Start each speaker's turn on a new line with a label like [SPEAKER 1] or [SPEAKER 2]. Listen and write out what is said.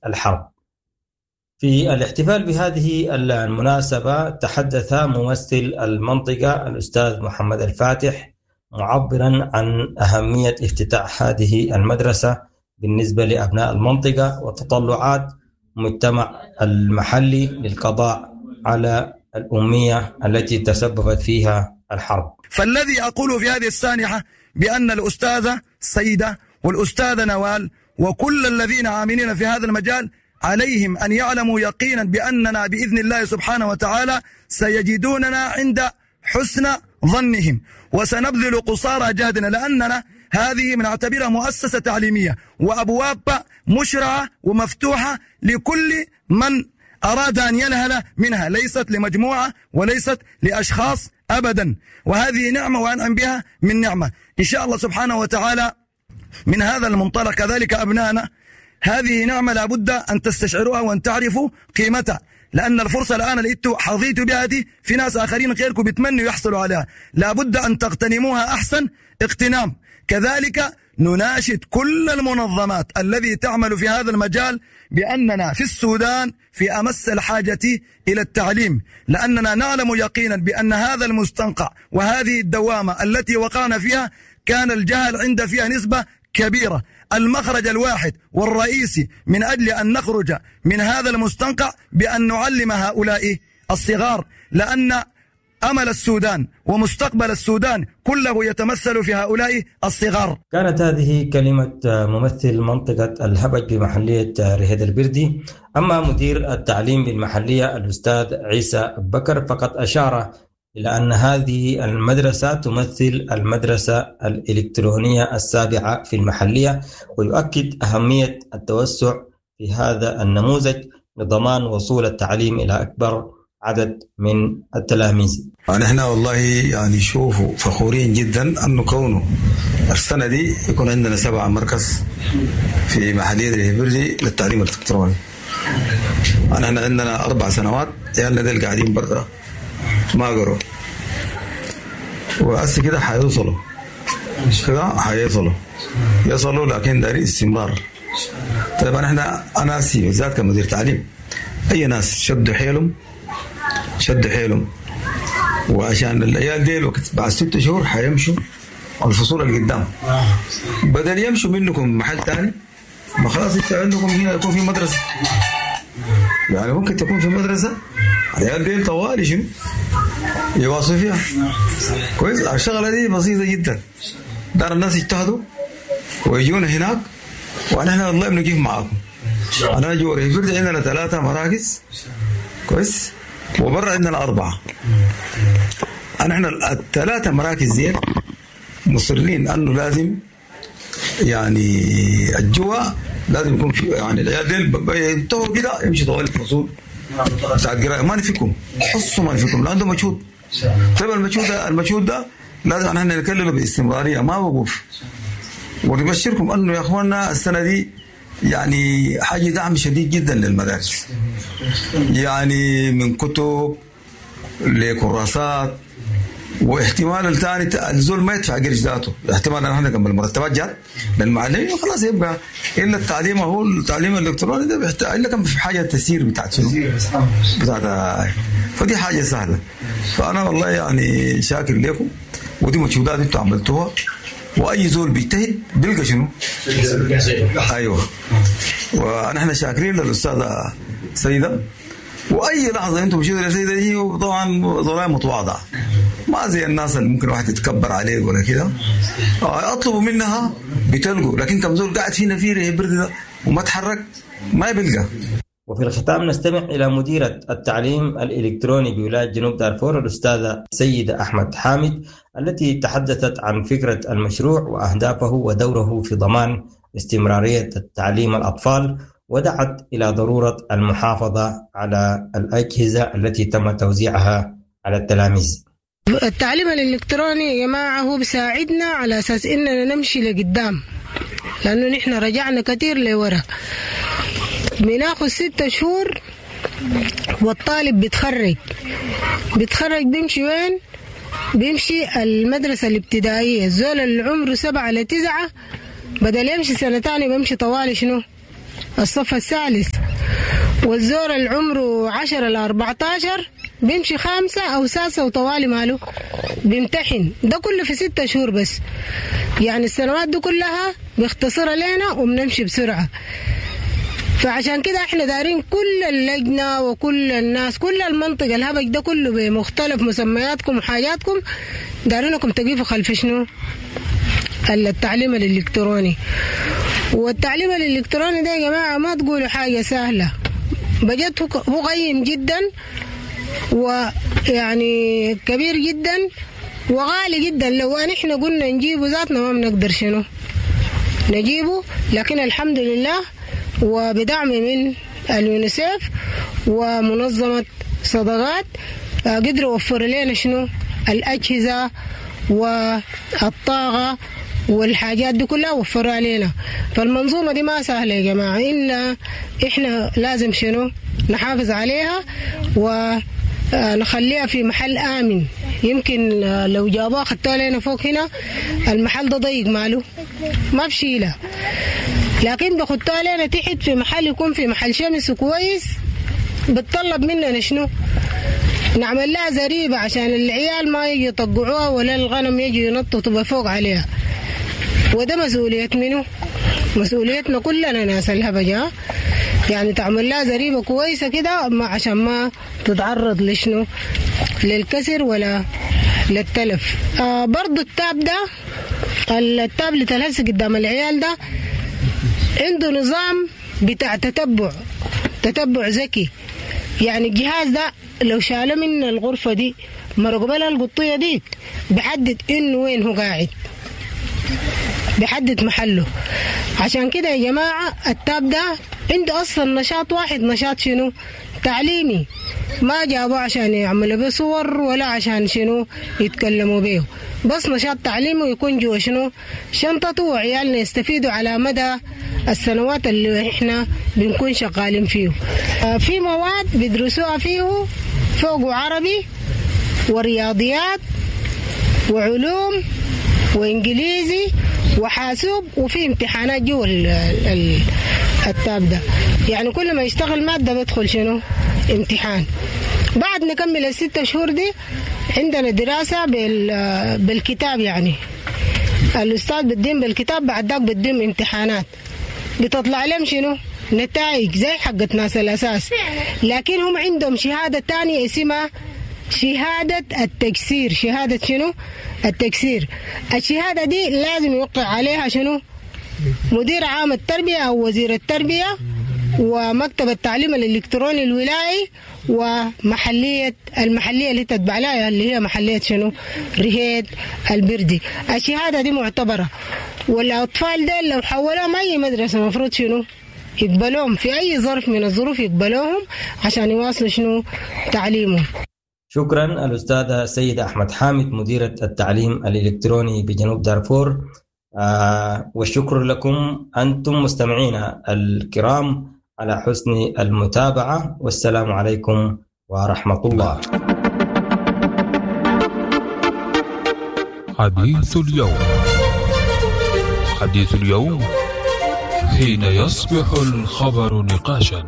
[SPEAKER 1] الحرب. في الاحتفال بهذه المناسبة تحدث ممثل المنطقة الأستاذ محمد الفاتح معبرا عن أهمية افتتاح هذه المدرسة بالنسبة لأبناء المنطقة وتطلعات المجتمع المحلي للقضاء على الأمية التي تسببت فيها الحرب.
[SPEAKER 2] فالذي أقوله في هذه السانحة بأن الأستاذة سيدة والأستاذة نوال وكل الذين عاملين في هذا المجال عليهم أن يعلموا يقينا بأننا بإذن الله سبحانه وتعالى سيجدوننا عند حسن ظنهم، وسنبذل قصارى جهدنا، لأننا هذه بنعتبرها مؤسسة تعليمية وأبواب مشرعة ومفتوحة لكل من أراد أن ينهل منها، ليست لمجموعة وليست لأشخاص أبدا، وهذه نعمة وأنعم بها من نعمة إن شاء الله سبحانه وتعالى. من هذا المنطلق كذلك أبنائنا هذه نعمة لابد أن تستشعروها وأن تعرفوا قيمتها، لأن الفرصة الآن اللي انتوا حظيتوا بها دي في ناس آخرين غيركم بيتمنوا يحصلوا عليها، لابد أن تغتنموها أحسن اغتنام. كذلك نناشد كل المنظمات الذي تعمل في هذا المجال بأننا في السودان في أمس الحاجة إلى التعليم، لأننا نعلم يقينا بأن هذا المستنقع وهذه الدوامة التي وقعنا فيها كان الجهل عند فيها نسبة كبيرة. المخرج الواحد والرئيسي من أجل أن نخرج من هذا المستنقع بأن نعلم هؤلاء الصغار، لأن أمل السودان ومستقبل السودان كله يتمثل في هؤلاء الصغار.
[SPEAKER 1] كانت هذه كلمة ممثل منطقة الهبج بمحلية رهيد البردي. أما مدير التعليم بالمحلية الأستاذ عيسى بكر فقد أشار إلى أن هذه المدرسة تمثل المدرسة الإلكترونية السابعة في المحلية، ويؤكد أهمية التوسع في هذا النموذج لضمان وصول التعليم إلى أكبر عدد من التلاميذ.
[SPEAKER 3] نحن والله يعني شوفوا فخورين جدا أنه كونه السنة دي يكون عندنا 7 مركز في محلية الهبردي للتعليم الإلكتروني. نحن عندنا 4 سنوات عيالنا ديل قاعدين برا ما قروا، وأسي كده حيوصلوا، كده حيصلوا يصلوا، لكن داري استمرار. طيب أنا أسي بالذات كمدير تعليم أي ناس شدوا حيلهم، شدوا حيلهم، وعشان العيال ديل وقت بعد 6 شهور حيمشوا الفصول اللي قدام، بدل يمشوا منكم محل تاني، ما خلاص انت عندكم هنا يكون في مدرسة، يعني ممكن تكون في مدرسة العيال ديل طوالي شنو يواصلوا فيها. كويس، الشغلة دي بسيطة جدا، دار الناس يجتهدوا ويجونا هناك، ونحن والله بنقف معاكم. أنا جوري البرد عندنا 3 مراكز، كويس، وبرا عندنا 4. نحن ال3 مراكز دي مصرين أنه لازم يعني الجوا لازم يكون في، يعني العيال ديل ينتهوا كده يمشي طوال الفصول ساعة قراءة، ما نفكهم حصوا، ما نفكهم، لأنه مجهود. طيب المجهود ده لازم نحن نكلله باستمرارية، ما وقوف. ونبشركم أنه يا أخواننا السنة دي يعني حاجة دعم شديد جدا للمدارس، يعني من كتب لكراسات، واحتمال الثاني الزول ما يدفع قرش ذاته، احتمال ان احنا كم المرتبات جات للمعلمين وخلاص، يبقى الا التعليم هو التعليم الالكتروني ده بيحتاج الا كم في حاجه تسيير بتاعت شنو بتاعت، فدي حاجه سهله. فانا والله يعني شاكر لكم، ودي مجهودات انتم عملتوها، واي زول بيجتهد بيلقى شنو؟ ايوه، ونحن شاكرين للاستاذه سيده، واي لحظه انتم مشيتوا لسيده هي طبعا ضلاله متواضعه، ما زي الناس اللي ممكن واحد يتكبر عليه ولا كده، اطلبوا منها بتلقوا، لكن كم زول قاعد فينا في برد ده وما تحرك ما بيلقى.
[SPEAKER 1] وفي الختام نستمع إلى مديرة التعليم الإلكتروني بولاية جنوب دارفور الأستاذة سيدة أحمد حامد التي تحدثت عن فكرة المشروع وأهدافه ودوره في ضمان استمرارية التعليم الأطفال، ودعت إلى ضرورة المحافظة على الأجهزة التي تم توزيعها على التلاميذ.
[SPEAKER 4] التعليم الإلكتروني يا جماعة هو بيساعدنا على أساس إننا نمشي لقدام، لأنه نحن رجعنا كتير لورا. بناخد 6 شهور والطالب بيتخرج بيمشي وين؟ بيمشي المدرسة الابتدائية. الزول اللي عمره 7 ل 9 بدل يمشي سنة تانية بيمشي طوالي شنو؟ الصف الثالث، والزول اللي عمره 10 ل 14 بيمشي 5 أو 6 وطوالي ماله بيمتحن. ده كله في 6 شهور بس، يعني السنوات دي كلها بيختصرها لنا وبنمشي بسرعة. فعشان كده احنا دارين كل اللجنة وكل الناس، كل المنطقة الهبج ده كله بمختلف مسمياتكم وحاجاتكم، دارينكم تقيفوا خلف شنو؟ التعليم الإلكتروني. والتعليم الإلكتروني ده يا جماعة ما تقولوا حاجة سهلة، بجد هو قيم جدا ويعني كبير جدا وغالي جدا. لو احنا قلنا نجيبه ذاتنا ما بنقدر شنو نجيبه، لكن الحمد لله وبدعم من اليونيسيف ومنظمة صدقات قدروا يوفروا لنا شنو الأجهزة والطاقة والحاجات دي كلها وفروا علينا. فالمنظومة دي ما سهلة يا جماعة، إلا إحنا لازم شنو نحافظ عليها ونخليها في محل آمن. يمكن لو جابوها خدتوها لنا فوق هنا المحل ده ضيق ماله ما بشيلها، لكن بخدتوها لنا تحت في محل يكون في محل شمس كويس. بتطلب مننا شنو نعمل لها زريبة عشان العيال ما يجي يطقعوها ولا الغنم يجي ينططوا فوق عليها. وده مسؤولية منه، مسؤوليتنا كلنا ناس الهبجة، يعني تعمل لها زريبة كويسة كده عشان ما تتعرض لشنو للكسر ولا للتلف. برضو ال tab ده، التابلت الهسه قدام العيال ده عنده نظام بتاع تتبع ذكي. يعني الجهاز ده لو شاله من الغرفة دي مرقوا لها القطية ديك بحدد انه وين هو قاعد، بحدد محله. عشان كده يا جماعة ال tab ده عنده أصلا نشاط واحد، نشاط شنو؟ تعليمي. ما جابوه عشان يعملوا به صور ولا عشان شنو يتكلموا به، بس نشاط تعليمي ويكون جوا شنو شنطته، وعيالنا يستفيدوا على مدى السنوات اللي احنا بنكون شغالين فيه. في مواد بيدرسوها فيه فوق عربي ورياضيات وعلوم وإنجليزي وحاسوب، وفي امتحانات جوا التاب ده. يعني كل ما يشتغل مادة بدخل شنو امتحان. بعد نكمل ال6 شهور دي عندنا دراسة بالكتاب، يعني الأستاذ بدين بالكتاب، بعد ذاك بدين امتحانات بتطلع لهم شنو نتائج زي حقت ناس الأساس، لكن هم عندهم شهادة تانية اسمها شهادة التكسير. شهادة شنو؟ التكسير. الشهادة دي لازم يوقع عليها شنو؟ مدير عام التربية أو وزير التربية ومكتب التعليم الإلكتروني الولائي ومحلية المحلية اللي تتبع لها اللي هي محلية شنو؟ رهيد البردي. الشهادة دي معتبرة، والأطفال دي لو حولوهم أي مدرسة مفروض شنو؟ يقبلوهم في أي ظرف من الظروف، يقبلوهم عشان يواصلوا شنو؟ تعليمهم.
[SPEAKER 1] شكرا الأستاذة سيدة أحمد حامد مديرة التعليم الإلكتروني بجنوب دارفور، والشكر لكم أنتم مستمعينا الكرام على حسن المتابعة، والسلام عليكم ورحمة الله.
[SPEAKER 5] حديث اليوم، حديث اليوم حين يصبح الخبر نقاشا.